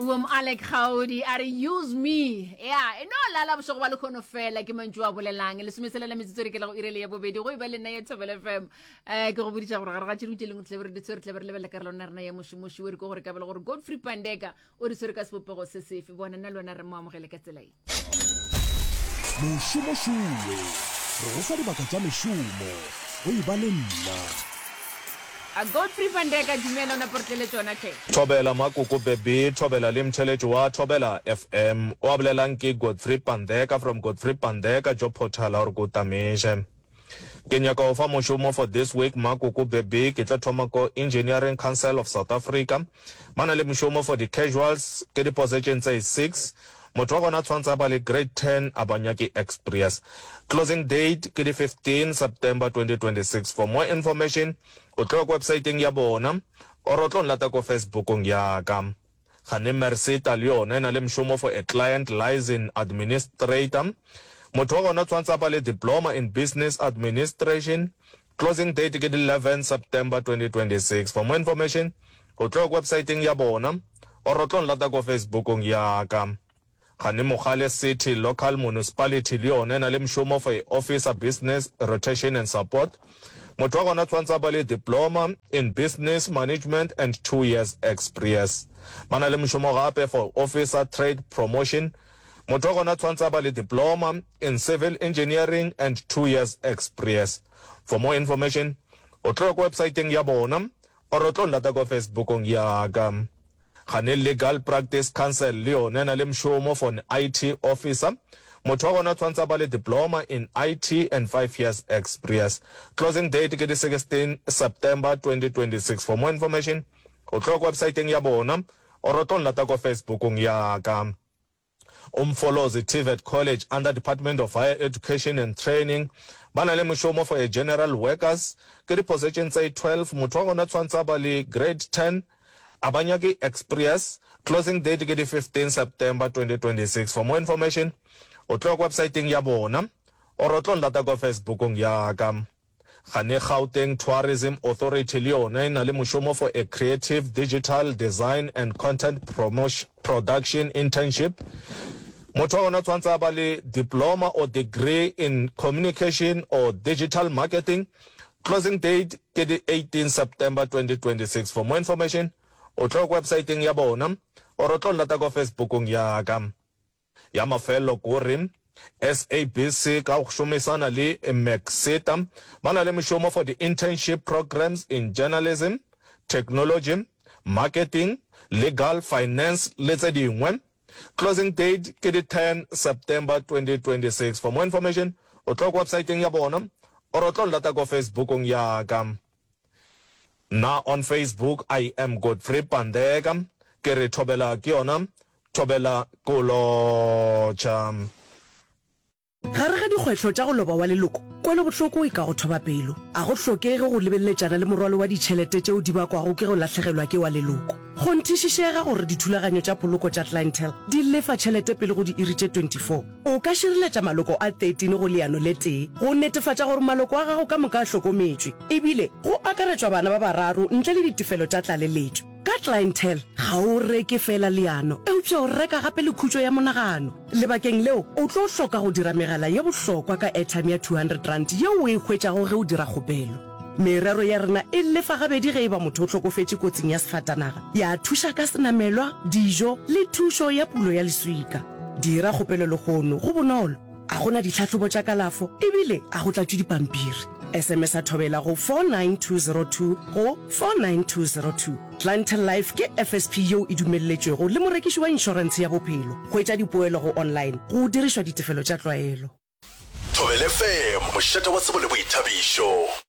Boom Alec Kgaodi a re use me ya e no lala bošego ba lekgono fela ke mantšu a bolelang lesomeselela metsotso re ke lego irele ya bobedi go e ba le nna ya Thobela FM eh ke go boditša gore gare ga tše dingwe tše lengwe tle re di tshwere tle re lebelela karolo na rena ya mošomoši o re ke gore ka bela gore Godfrey Pandeka o re tshwere ka sebopego se sefe bona nna le wena re mo amogele ka tsela ye. Mošomo šowe, re go fa dibaka tša mešomo, go e ba le nna. A Godfrey van Dijk a dumela o napa re tlele tšona hle. Thobela Makoko Beby Thobela le mtheletši wa Thobela FM o a bolelang ke Godfrey Pandeka from Godfrey Pandeka Job Portal a gore ko tameše. Ke nyaka go fa mošomo for this week Makoko Beby ke tlo thoma ko Engineering Council of South Africa ba na le mošomo for di casuals ke di position tse six motho wa gona tshwantse a ba le grade 10 a ba nyake experience closing date ke di 15 September 2026 for more information o tlo ya ko websiteng ya bona or o tlo nlata ko Facebookong ya ka. Gane Merseta le yona e na le mšomo for a client liaison administrator. Motho wa gona tshwantse a ba le diploma in business administration. Closing date ke di 11 September 2026. For more information, o tlo ya ko websiteng ya bona or o tlo nlata ko Facebookong ya ka. Gane Mogale City Local Municipality le yona e na le mšomo for a Officer Business Rotation and Support. Motho wa gona tshwantse a ba le Diploma in Business Management and 2 years experience. Ba na le mošomo gape for Officer Trade Promotion. Motho wa gona tshwantse a ba le Diploma in Civil Engineering and 2 years experience. For more information, o tlo ya ko websiteng ya bona or o tlo nlata ko Facebookong ya ka. Gane Legal Practice Council le yona e na le mšomo for an IT officer. Motho wa gona tshwantse a ba le diploma in IT and 5 years experience. Closing date ke di 16 September 2026. For more information, o tlo ya ko websiteng ya bona or o tlo nlata ko Facebookong ya ka. Umfolozi TVET College under Department of Higher Education and Training ba na le mošomo for a general workers ke di position tse 12 motho wa gona tshwantse a ba le grade 10 a ba nyake experience closing date ke di 15 September 2026 for more information o tlo ya ko websiteng ya bona or o tlo nlata ko Facebookong ya ka. Gane Gauteng Tourism Authority le yona e na le mošomo for a Creative Digital Design and Content Production Internship. Motho wa gona tshwantse a ba le diploma or degree in communication or digital marketing. Closing date ke di 18 September 2026. For more information, o tlo ko websiteng ya bona or o tlo nlata ko Facebookong ya ka. Ya mafelelo kore SABC ka go šomisana le MECSETA ba na le mošomo for di-internship programs in journalism, technology, marketing, legal, finance le tse dingwe. Closing date ke di 10 September 2026. For more information o tlo ko websiteng ya bona or o tlo nlata ko Facebookong ya ka. Nna on Facebook I am Godfrey Pandeka ke re thobela ke yona Thobela ko lotšha. Gare ga dikgwetlho tša go loba wa leloko, kwelobohloko e ka go thoba pelo. A go hlokege go lebeletšana le morwalo wa ditšhelete tšeo di bakwago ke go lahlegelwa ke wa leloko. Kgonthišišega gore dithulaganyo tša poloko tša Clientele di lefa tšhelete pele go diiri tše 24. O ka šireletša maloko a 13 go leano le tee go netefatša gore maloko a gago ka moka a hlokometšwe, ebile go akaretšwa bana ba bararo ntle le ditefelo tša tlaleletšo. Ka Clientele, ga o reke feela leano, eupša o reka gape le khutšo ya monagano. Lebakeng leo, o tlo hloka go dira megala ye bohlokwa ka airtime ya R200 yeo o e hwetšago ge o dira kgopelo. Merero ya rena e lefa gabedi ge e ba motho o hlokofetše kotsing ya sefatanaga, ya thuša ka senamelwa, dijo le thušo ya pulo ya leswika. Dira kgopelo lehono, go bonolo. A go na ditlhahlobo tša kalafo ebile a go tlatšwe dipampiri. SMS-a Thobela go 49202 go 49202. Clientele Life ke FSP yeo e dumelletšwego le morekiši wa inšorentshe ya bophelo. Hwetša dipoelo go online go dirišwa ditefelo tša tlwaelo. Thobela FM, mošate wa tsebo le boithabišo.